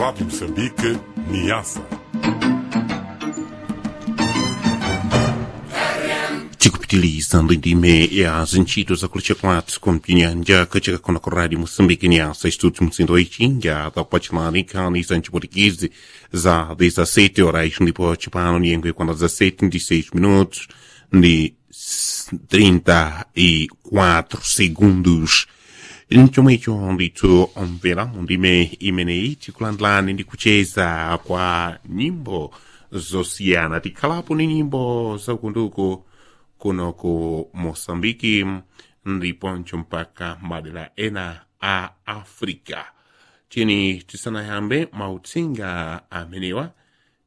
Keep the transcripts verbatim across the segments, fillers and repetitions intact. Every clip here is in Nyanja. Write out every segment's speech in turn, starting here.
Rádio Moçambique, Niassa. Tikupitiliza ndime ya zintchito zakulicha kwathu kumpinyanja kachika kona ku rádio moçambique niassa estudos msindo ichinja takupatinani nkhani za nchiputikidzi za dezessete horas ndipo chipano nyengo ikwana dezessete ndi seis minutos ndi trinta e quatro segundos. Nchomwecho ndithu omvera mundime imeneyi tikulandilani ndi kucheza kwa nyimbo zosiyana. Tikhalapo ni nyimbo zakunduku kuno ku moçambike ndiponso mpaka madera ena a africa. Tini tisanayambe mauthenga amenewa,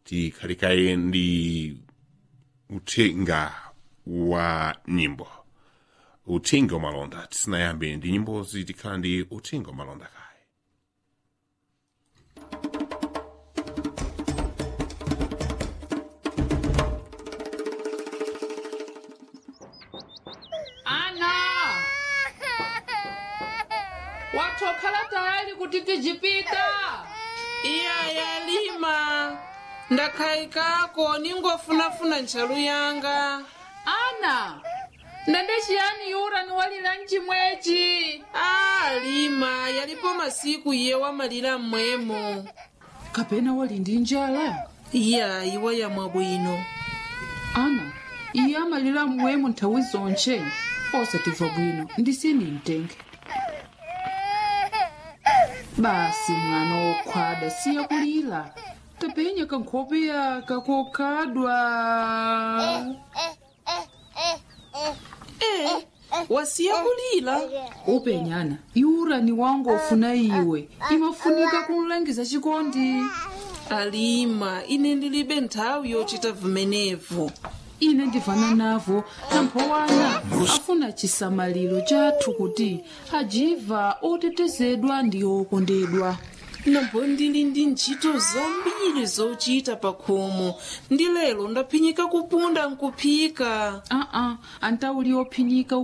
tikhalikaye ndi uthenga wa nyimbo, uthenga umalonda. Tisanayambe ndi nyimbozi, tikhala ndi uthenga umalonda kaye. Ana, watokhala tayali kuti tijipita? Iya yalima, ndakhaikako ningofunafuna ntchalu yanga. Ana, ndende chiyani yura niwalira mchimwechi? A lima, yalipo masiku iye wamalira mmwemo. Kapena wali ndi njala? Iya, iwa yamwa bwino. Ana, iye amalira mwemo nthawi zonche, osatimva bwino ndisini mtenge. Basi mwana wokhwada, siye kulira, tapenya kankhope yaka kokhadwa. E, wasiya kulira. Upenyana iurani wangu ofuna iwe imafunika kumlangiza chikondi. Alima, ine ndilibe nthawi yochita vumenevu. Ine ndivana navo, namphowana afuna chisamaliro chathu kuti ajiva otetezedwa ndi okondedwa. Nambo ndili ndi ntchito zambiri zochita pa khomo, ndi lero ndaphinyika kupunda nkuphika. Aa, antauli ophinyika.